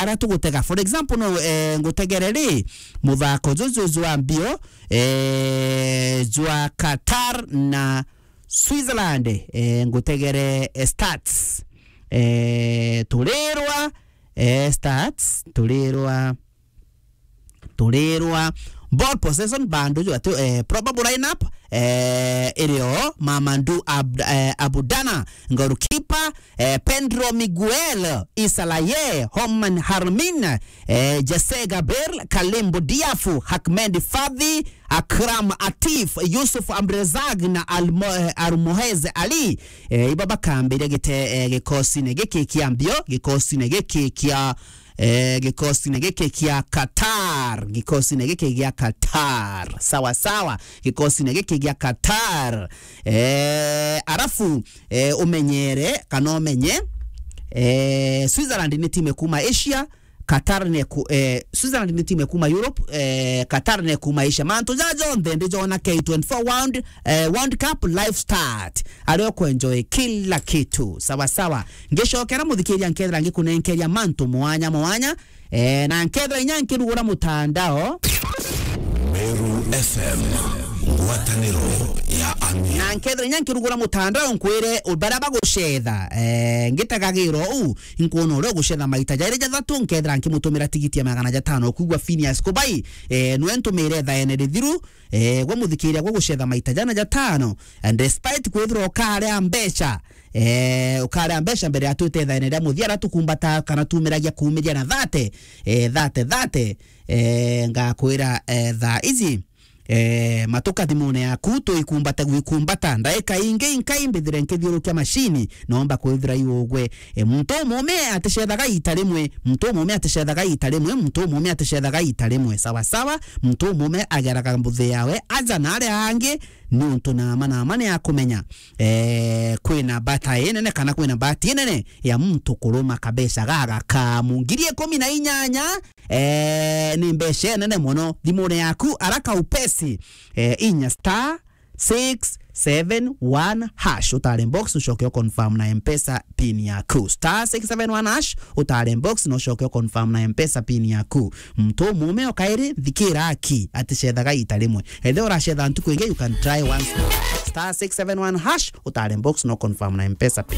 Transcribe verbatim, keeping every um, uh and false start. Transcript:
ara tugutega. For example, no, eh, ngutegere ri, muthako juju jwa mbio, eh, jwa Qatar na Switzerland, eh, ngutegere, eh, stats. Eh, turirwa, eh, stats, turirwa, turirwa. Ball possession, bandu jwa tu, eh, probable lineup, eh, irio Mamadou Ab-, eh, Abudana, goalkeeper, eh, Pedro Miguel, Isalaye, Homan Harmin, eh, Jesse Gabriel, Kalimbo Diafu, Hakmed Fadhi, Akram Atif, Yusuf Amrezag na Almo-, eh, Almohez Ali. Eh, iba bakambiria gite-, eh, gikosine giki kia mbio, gikosine giki kia, eh, gikosine giki kia Qatar, gikosine giki gia Qatar. Sawa, sawa, gikosine giki gia Qatar. Eh, arafu, eh, umenyere, kana umenye, eh, Switzerland ni timu kuma Asia, Qatar ne ku-, eh, Switzerland ni timu kuma Europe, eh, Qatar ne kuma Asia. Mantu ja jonthe ndi jona K twenty-four World, eh, World Cup live start. Ario kwenjoy kila kitu. Sawa, sawa. Ngicokera muthikiria nkethira ngikunenkeria mantu mwanya mwanya, eh, na nkethira inya nkirugura mutandao. Meru F M, ngwataniro ya Amia. Na nkethira inya nkirugura mutandao nkwire u-, baria bagucetha, eh, ngitagagira u, inkwona uria ugucetha maita jairi jathatu, nkethira nkimutumira tigiti ya magana jatano. Ukwigua Phineas Kubai, eh, nwe ntumire thaene rithiru, eh, gwe muthikiria gwe gucetha maita jana jatano, and despite kwithirwa ukarea mbeca, eh, ukarea mbeca mbere ya twite thaene ria muthia, ara tukumbata kana tumiragia kumiria na thate, eh, thate, thate, eh, ngakwira, eh, thaa iji, eh, matuka thimune yaku, tuikumbate gwikumbata. Ndaika ingi inkai mbithire nkithiurukia macini, nomba kwithira iugwe. Eh, muntu umume aticethaga ita rimwe, muntu umume aticethaga ita rimwe, muntu umume aticethaga ita rimwe. Sawa sawa, muntu umume ageraga mbuthi yawe aja na aria angi, niuntu nama nama ni akumenya, eh, kwina bata inene kana kwina bahati inene ya muntu kuruma kabeca gaga kamu ngiri ikumi na inyanya, eh, ni mbeca nene mono thimune yaku. Araka upesi, eh, inya star six seven one hash, utare box, ucoke u confirm na M-Pesa pin yaku. Star six seven one hash, utare box, na ucoke u confirm na M-Pesa pin yaku. Muntu umume o kairi, thikira aki, aticethaga ita rimwe. Ethira uracetha ntuku ingi, you can try once more. Star six seven one hash, utare box, na u confirm na M-Pesa pin.